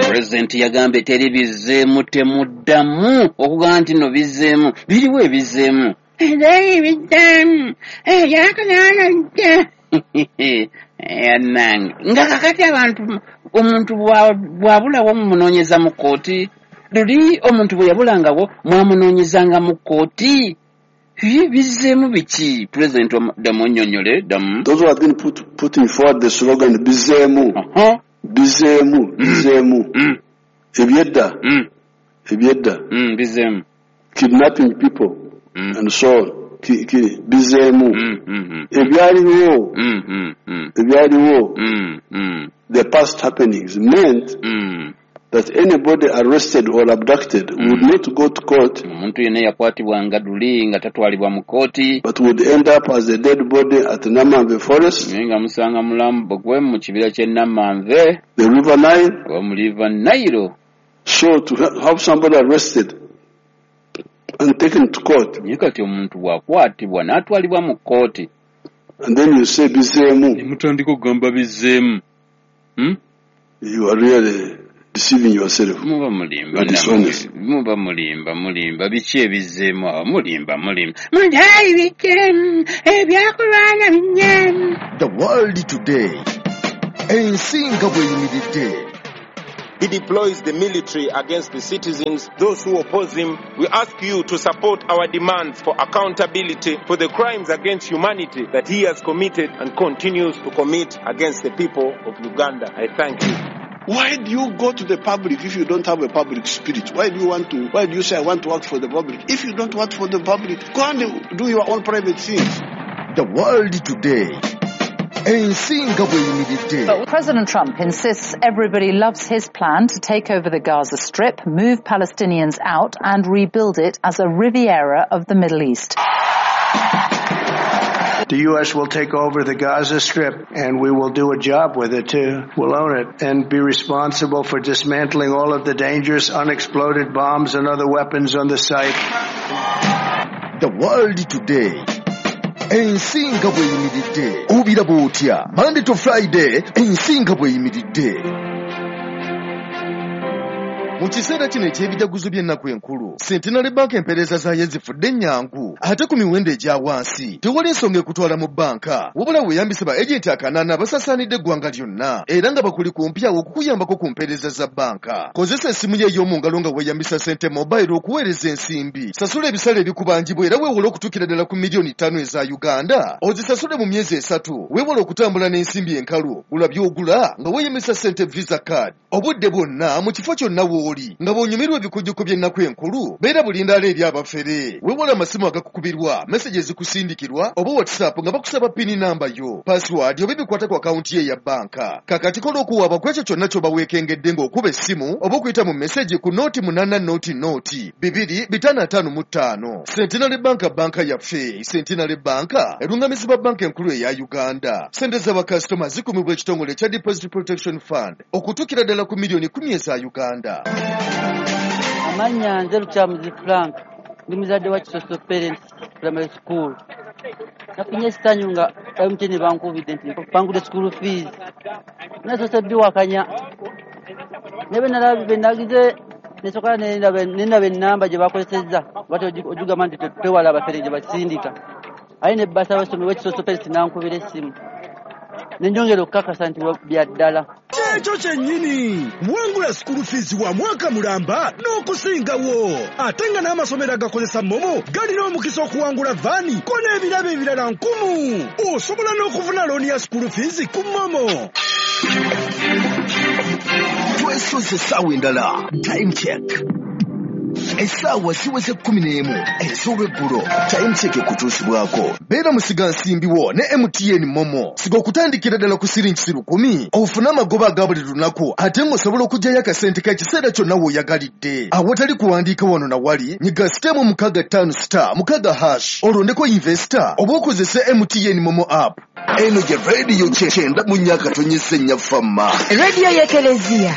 Pulezidenti yagambye teri bizzeemu, temuddamu okugamba nti nno bizzeemu. Biriwo ebizzeemu? Teri bizzeemu, ebyakananajja nange nga kakati abantu omuntu bw'abulawo mumunoonyeza mu kkooti. Luli omuntu bwe yabulangawo mwamunoonyezanga mu kkooti. Bizzeemu biki? Pulezidenti, ddamu onnyonnyole, ddamu. Those who have been putting forward the slogan "Bizeemu, bizeemu, bizeemu," ebyedda, ebyedda, Bizeemu. Kidnapping people and so on, bizeemu. Ebyaliwo, ebyaliwo, the past happenings meant that anybody arrested or abducted would not go to court, Omuntu yenna yakwatibwanga luli nga tatwalibwa mu kkooti, but would end up as a dead body at Namanve Forest, naye nga musanga mulambo gwe mu kibira ky'e Namanve, the River Nile. Oba mu River Nile. So to have somebody arrested and taken to court, Naye kati omuntu bw'akwatibwa n'atwalibwa mu kkooti, and then you say bizeemu, ne mutandika okugamba bizzeemu, You are really deceiving yourself. Muba mulimba. You are dishonest. Muba mulimba, mulimba. Biki ebizzeemu awo? Mulimba, mulimba. Mutayi bikyemu ebyakulwana binyemu. The World Today, ensi nga bw'eyimiridde. He deploys the military against the citizens, those who oppose him. We ask you to support our demands for accountability for the crimes against humanity that he has committed and continues to commit against the people of Uganda. I thank you. Why do you go to the public if you don't have a public spirit? Why do you want to, why do you say, "I want to work for the public"? If you don't work for the public, go and do your own private things. The World Today, ensi nga bw'eyimiridde. President Trump insists everybody loves his plan to take over the Gaza Strip, move Palestinians out and rebuild it as a Riviera of the Middle East. The U.S. will take over the Gaza Strip and we will do a job with it too. We'll own it and be responsible for dismantling all of the dangerous unexploded bombs and other weapons on the site. The World Today, ensi nga bw'eyimiridde, obiraba otya? Monday to Friday, ensi nga bw'eyimiridde. Mu kiseera kino eky'ebijaguzo by'ennaku enkulu, Centenary Bank empeereza zaayo zifudde ennyangu ate ku miwendo egya wansi. Tewali nsonga ekutwala mu bbanka, wabula weeyambise ba agenti akanaana abasaasaanidde eggwanga lyonna era nga bakuli kumpi awo okukuyambako ku mpeereza za bbanka. Kozesa essimu yo ey'omu ngalo nga weeyambisa Sente Mobile okuweereza ensimbi, sasula ebisale ebikubanjibwa era weewole okutuukira ddala ku miliyoni 5 eza Uganda, ozisasule mu myezi 3. Weewale okutambula n'ensimbi enkalu. Gula by'ogula nga weeyambisa Sente Visa Card obudde bwonna, mu kifo kyonna w'oli, nga bw'onyumirwa ebikujjuko by'ennaku enkulu. Beera bulindaala eri abafere. Weewale amasimu agakukubirwa, message ezikusindikirwa oba WhatsApp nga bakusaba PIN number yo, password oba ebikwata ku akawunti ye eya bbanka. Kakati kola okuwaaba ku ekyo kyonna ky'oba weekengedde ng'okuba essimu oba okuyita mu message ku 0800 255. Centenary Bank, banka yaffe. Centenary Bank erungamizibwa Banka Enkulu eya Uganda. Sente z'abakasitoma zikumibwa ekitongole ekya Deposit Protection Fund okutuukira ddala ku miliyoni 10 eza Uganda. Amannya nze Lukyamuzi Frank, ndi muzadde wa Kisoso Parents Primary School. Nafunye essanyu nga MTN bankubidde nti bangudde school fees. Nasoose biwakanya, naye bwe nagize nesooka nendaba ennamba gye bakozesezza, bati ogigamba nti twewala abafere gye basindika, aye ne bursar w'essomero w'Ekisoso Parents nankubira essimu, nenjongera okukakasa nti bya ddala. Kyekyo kyennyini, wangula school fees wa mwaka mulamba n'okusingawo, ate nga n'amasomero agakozesa MoMo galina omukisa okuwangula van ko n'ebirabo ebirala nkumu. Osobola n'okufuna loan ya school fees ku MoMo. Twesoze essaawa endala. Time Check, essaawa ziweze 11 ez'olweggulo. Time Check ekutuusibwako beera musigansimbi wo ne MTN MoMo. Siga okutandikira ddala ku siringi 1000, ofune amagoba aga buli lunaku, ate ng'osobola okuggyayo akasente k'ekiseera kyonna w'oyagalidde awatali kuwandiika wano na wali. Nyiga *165*6# olondeko "invest" oba okozese MTN MoMo app. Eno ye rediyo 94.4 Fama. Rediyo y'Ekereziya.